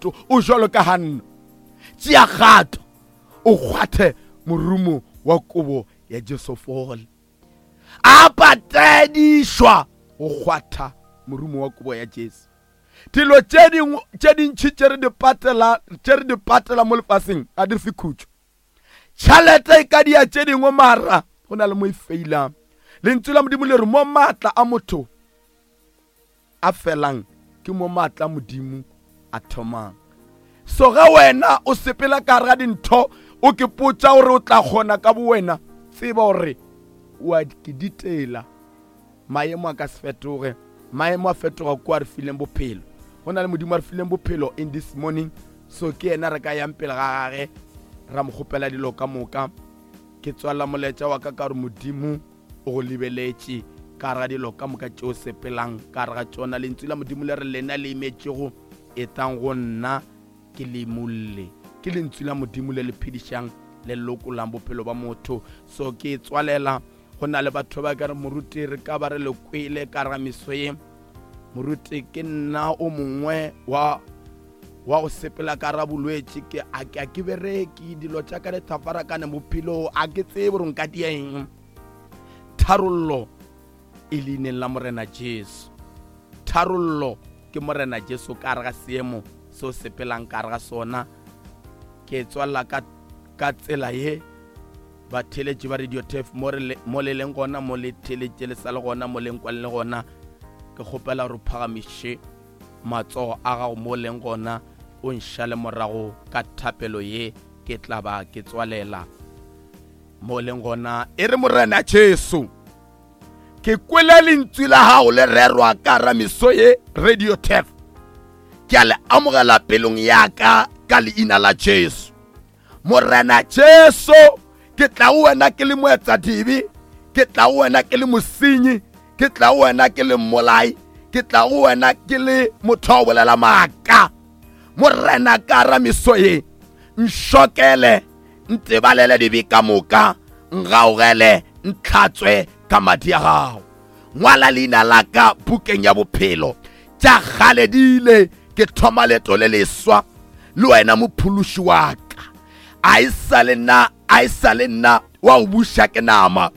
molato o jalo ka ganna tšea kgato o kgwathe morumo wa kobo ya jesu fole a patedišwa go kgwatha morumo wa kobo ya jesu dilo tše dingwe tše dintši tše re di patela tše re di patela mo lefaseng ga di re fe khutšo tšhelete e ka dia tše dingwe mara go na le mo e feilang lentswe la modimo le re mo maatla a motho a felang ke mo maatla a modimo a thomang so ge wena o sepela ka gare ga dintho o ke potša gore o tla kgona ka bowena tseba gore wa ke ditela maemo a ka se fetoge maemo a fetoga kwa re fileng bophelo go na le modimo a re fileng bophelo in this morning so ke yena re ka yang pele ga gage ra mo kgopela dilo ka moka ke tswalela molaetša wa ka ka gore modimo o go lebeletše ka gare ga dilo ka moka tšeo sepelang ka gare ga tšona lentswe la modimo le re lena le imetšego etang go nna ke le imolle ke lentswe la modimo le le phedišang le lokolang bophelo ba motho so ke tswalela go na le batho ba ka re moruti re ka ba re le kwele ka ra meso ye moruti ke nna o mongwe wa wa go sepela ka ra bolwetši ke a ke a ke bereke dilo tša ka di thafarakane bophelong a ke tsebe gore nka dia eng tharollo e leineng la morena jesu tharollo ke morena jesu ka re ga seemo se o sepelang ka re ga sona ke tswalela ka ka tsela ye batheeletši ba radio tef mo le leng gona mo le theeletše le sa le gona mo leng kwang le gona ke kgopela gore phagamiše matsogo a gago mo leng gona o nšale morago ka thapelo ye ke tla ba ke tswalela mo leng gona e re morena jesu ke kwele lentswe la gago le rerwa ka ramiso ye radio tef ke a le amogela pelong ya ka ka leina la jesu morena jesu ke tla go wena ke le moetsadibe ke tla go wena ke le mosenyi ke tla go wena ke le mmolai ke tla go wena ke le motho wa go bolela maaka morena ka ra meso ye nšokele ntebalele dibe ka moka ngaogele ntlhatswe ka madi a gago ngwala leina la ka bukeng ya bophelo tša kgale di ile ke thoma leeto le leswa le wena mophološi wa ka a e sa le nna a e sa le nna wa go buša ke nama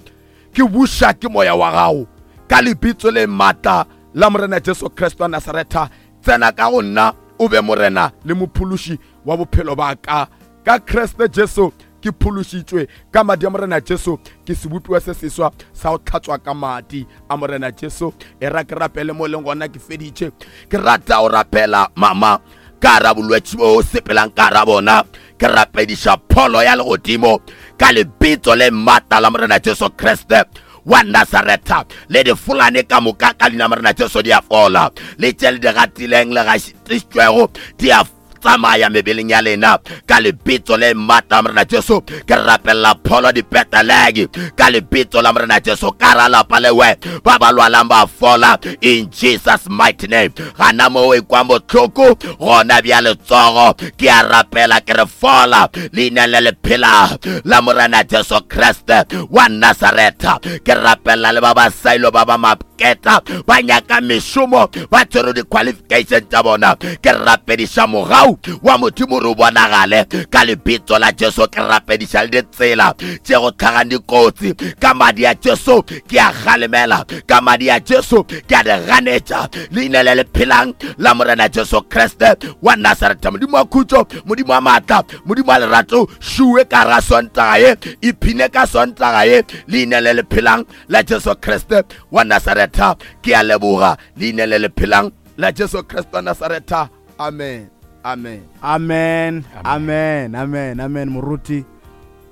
ke buša ke moya wa gago ka lebitso le maatla la morena jesu kriste wa nasaretha tsena ka go nna o be morena le mophološi wa bophelo ba ka ka kriste jesu ke phološitšwe ka madi a morena jesu ke sebopiwa se seswa sa go tlhatswa ka madi a morena jesu e ra ke rapele mo e leng gona ke feditše ke rata go rapela mama ka ra bolwetši bo sepelang ka ra bona ke rapediša pholo ya legodimo ka lebitso le maatla la morena jesu kriste wa nasaretha le difolane ka moka ka leina morena jesu di a fola le tše le di gatileng le gašitšwego di a tsamaya mebeleng ya lena ka lebitso le maatla la morena jesu ke rapelela pholo dipetelegi ka lebitso la morena jesu ka ra lapa lewe ba ba lwalang ba fola in jesus mighty name gana mo e kwa bohloko gona bja letsogo ke a rapela ke re fola leina le le phela la morena jesu kriste wa nasaretha ke rapelela le ba ba sailo ba ba maketa ba nyaka mešomo ba tshwere di-qualification tša bona ke rapediša mogau wa modimo re o bonagale ka lebitso la jesu ke rapediša le ditsela tše go tlhagang dikotsi ka madi a jesu ke a galemela ka madi a jesu ke a di ganetša leina le le phelang la morena jesu kriste wa nasaretha modimo wa khutšo modimo wa maatla modimo wa lerato šuwe ka ra sontaga ye iphine ka sontaga ye leina le le phelang la jesu kriste wa nasaretha ke a leboga leina le le phelang la jesu kriste wa nasaretha amen amen amen amen amen amen moruti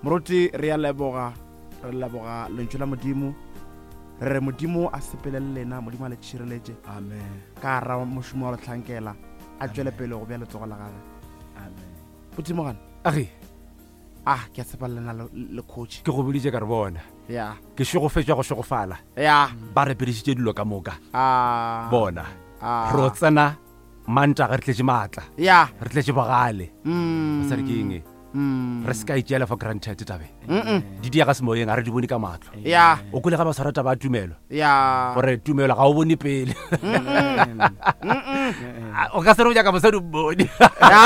moruti re a leboga re leboga lentšu la modimo re re modimo a sepele le lena modimo a le tšhireletše amen ka ra mošomo wa letlhankela a tšwele pele go bja letsogo la gage amen botimogane age ah ke a tshepa lena le coach ke go boditše ka re bona ya ke šegofetšwa go šegofala ya ba re pedišitše dilo ka moka ah bona ah ro tsena mantaga re tletše maatla ya re tletše bogale mm basadi ke eng e? mm re se ka itšeela for granted tabe mm di diega semoyeng ga re di bone ka matlho ya o kole ga ba tshwara taba ya tumelo ya gore tumelo ga o bone pele o ka se re o nyaka mosadi o mmone